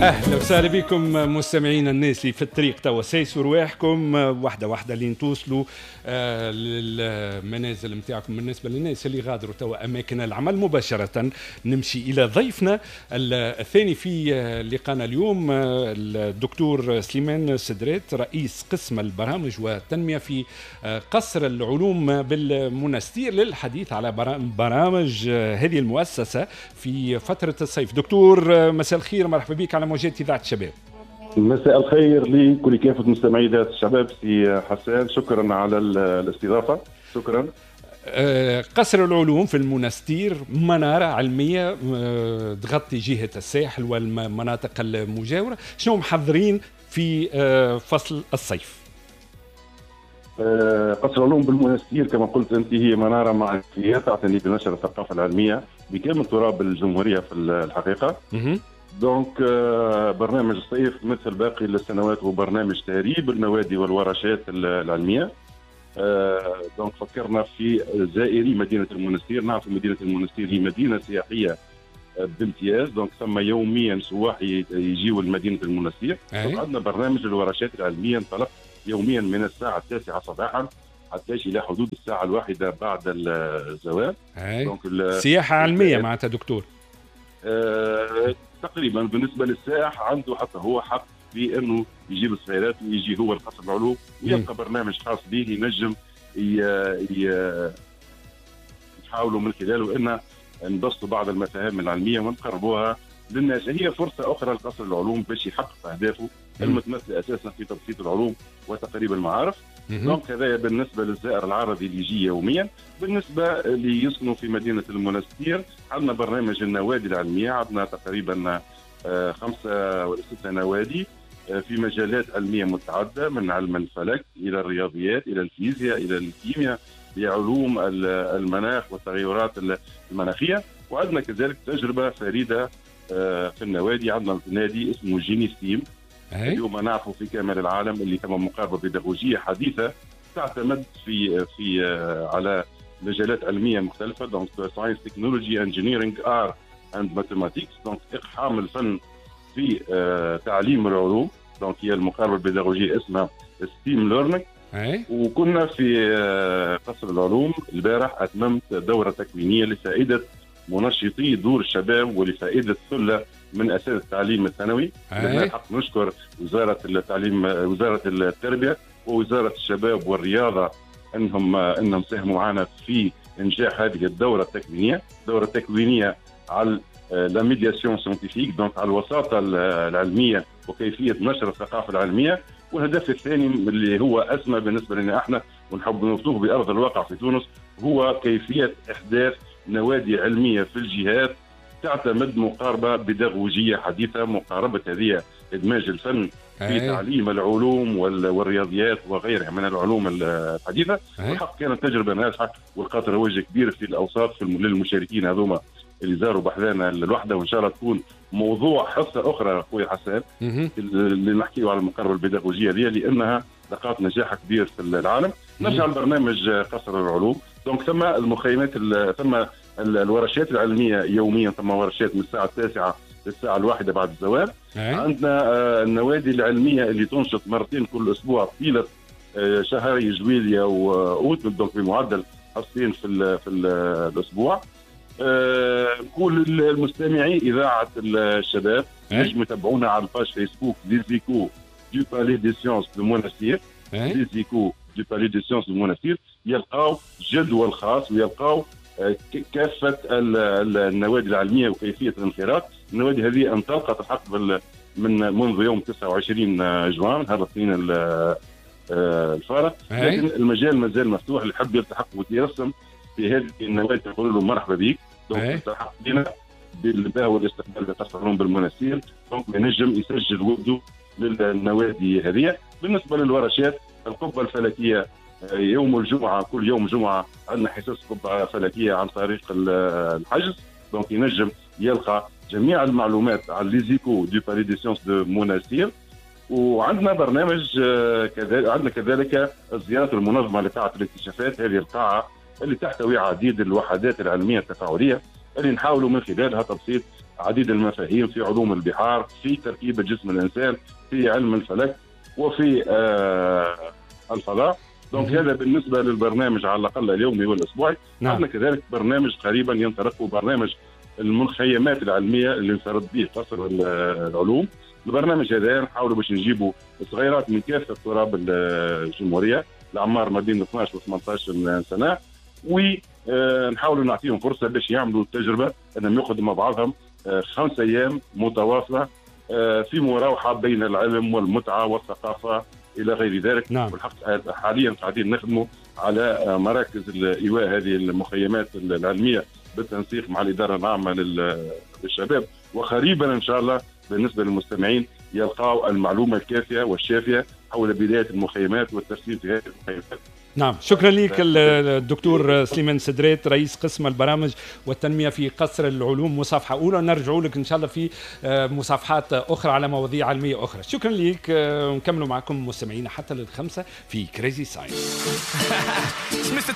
اهلا وسهلا بكم مستمعينا، الناس اللي في الطريق توا سايسوا رواحكم واحدة واحدة لين توصلوا للمنازل نتاعكم. بالنسبة للناس اللي غادروا توا اماكن العمل مباشرة نمشي الى ضيفنا الثاني في لقانا اليوم، الدكتور سليمان سدرات، رئيس قسم البرامج والتنمية في قصر العلوم بالمنستير، للحديث على برامج هذه المؤسسة في فترة الصيف. دكتور مساء الخير، مرحبا بك على موجات إذاعة الشباب. مساء الخير لكل كافة مستمعي إذاعة الشباب. سي حسان، شكرا على الاستضافة. شكرا. قصر العلوم في المنستير منارة علمية تغطي جهة الساحل والمناطق المجاورة، شنو محضرين في فصل الصيف؟ قصر العلوم بالمنستير كما قلت أنت هي منارة معرفية تعتني بنشر الثقافة العلمية بكامل تراب الجمهورية في الحقيقة. donc برنامج الصيف مثل باقي السنوات هو برنامج تهريب النوادي والورشات العلمية. donc فكرنا في زائري مدينة المنستير. نعرف مدينة المنستير هي مدينة سياحية بامتياز، donc ثم يوميا سواح يجيوا لمدينة المنستير. عندنا برنامج الورشات العلمية انطلق يوميا من الساعة 9 صباحا حتى الى حدود الساعة 1 بعد الزوال. donc سياحة علمية معناتها دكتور؟ تقريبا. بالنسبة للسائح عنده حتى هو حق في انه يجيب السيارات ويجي هو لقصر العلوم ويلقى برنامج خاص به ينجم نحاولوا من خلاله ان نبسطوا بعض المفاهيم العلمية ونقربوها للناس. هي فرصة اخرى لقصر العلوم باش يحقق اهدافه المتمثلة اساسا في تبسيط العلوم وتقريب المعارف. donc هذا بالنسبة للزائر العربي اللي يجي يوميا. بالنسبة اللي يسكنوا في مدينة المنستير عندنا برنامج النوادي العلمية، عندنا تقريبا 5 ولا 6 نوادي في مجالات علمية متعددة، من علم الفلك الى الرياضيات الى الفيزياء الى الكيمياء لعلوم المناخ والتغيرات المناخية. وعندنا كذلك تجربه فريدة في النوادي، عندنا نادي اسمه Génie STEAM. اليوم نعرفوا في كامل العالم اللي ثم مقاربة بيداغوجيه حديثه تعتمد في على مجالات علمية مختلفة، donc science، technology، engineering، art and mathematics. donc اقحام الفن في تعليم العلوم. donc هي المقاربة البيداغوجيه اسمها STEAM learning. وكنا في قصر العلوم البارح اتممت دوره تكوينيه لفائدة منشطي دور الشباب ولفائده ثلة من اساتذة التعليم الثانوي. لنا الحق نشكر وزارة التعليم، وزارة التربية ووزارة الشباب والرياضة انهم ساهموا معنا في انجاح هذه الدورة التكوينيه، الدورة التكوينيه على la médiation scientifique، donc على الوساطة العلمية وكيفية نشر الثقافة العلمية. والهدف الثاني اللي هو اسمى بالنسبة لنا احنا ونحب نوصله بارض الواقع في تونس هو كيفية احداث نوادي علمية في الجهات تعتمد مقاربة بيداغوجيه حديثه، مقاربة هذه ادماج الفن في تعليم العلوم والرياضيات وغيرها من العلوم الحديثة. والحق كانت تجربه ناجحة ولقات رواج كبير في الاوساط في للمشاركين هذوما اللي زاروا بحذانا الوحدة، وان شاء الله تكون موضوع حصة اخرى خويا حسان اللي نحكيو على المقاربة البيداغوجيه هذه لانها لقات نجاح كبير في العالم. نرجع لبرنامج قصر العلوم. donc ثم المخيمات، ثم الورشات العلمية يوميا، ثم ورشات من الساعة 9 للساعة 1 بعد الزوال. عندنا النوادي العلمية اللي تنشط مرتين كل اسبوع طيلة شهري جويليا واوت، donc بمعدل حصتين في الاسبوع. نقول للمستمعي اذاعة الشباب نجموا يتابعونا على ال page Facebook les échos du Palais des sciences de Monastir، les échos du Palais des sciences de Monastir، يلقاو جدول خاص ويلقاو كافة النوادي العلمية وكيفية الانخراط. النوادي هذه انطلقت الحق من منذ يوم 29 جوان هذا الاثنين الفارط، لكن المجال مازال مفتوح، اللي يحب يلتحق ويترسم في هذه النوادي نقول له مرحبا بك. donc التحق بنا بالباه والاستقبال بقصر العلوم بالمنستير، donc ينجم يسجل وده للنوادي هذه. بالنسبة للورشات، القبة الفلكية يوم الجمعة، كل يوم جمعه عندنا حصص قبه فلكيه عن طريق الحجز، donc ينجم يلقى جميع المعلومات على les échos du Palais des sciences de Monastir. وعندنا برنامج كذلك، عندنا كذلك الزيارات المنظمة لقاعه الاكتشافات، هذه القاعة اللي تحتوي عديد الوحدات العلمية التفاعليه اللي نحاولوا من خلالها تبسيط عديد المفاهيم في علوم البحار، في تركيبه جسم الانسان، في علم الفلك، وفي الفضاء. donc هذا بالنسبة للبرنامج على الاقل اليومي والاسبوعي. عندنا كذلك برنامج قريبا ينطلق، برنامج المخيمات العلمية اللي انفرد به قصر العلوم. البرنامج هذا نحاولوا باش نجيبوا صغيرات من كافة تراب الجمهوريه، الاعمار ما بين 12 و 18 سنه، ونحاولوا نعطيهم فرصة باش يعملوا تجربه انهم يقعدوا مع بعضهم 5 ايام متواصلة في مراوحه بين العلم والمتعة والثقافة الى غير ذلك. والحق حاليا قاعدين نخدموا على مراكز الايواء هذه المخيمات العلمية بالتنسيق مع الادارة العامة للشباب، وقريبا ان شاء الله بالنسبة للمستمعين يلقاو المعلومة الكافيه والشافيه حول بداية المخيمات والترتيب في هذه المخيمات. نعم، شكرا لك الدكتور سليمان سدريت، رئيس قسم البرامج والتنمية في قصر العلوم. مصافحة أولى، نرجع لك إن شاء الله في مصافحات أخرى على مواضيع علمية أخرى. شكرا لك. نكملوا معكم مستمعينا حتى لل5 في Crazy Science.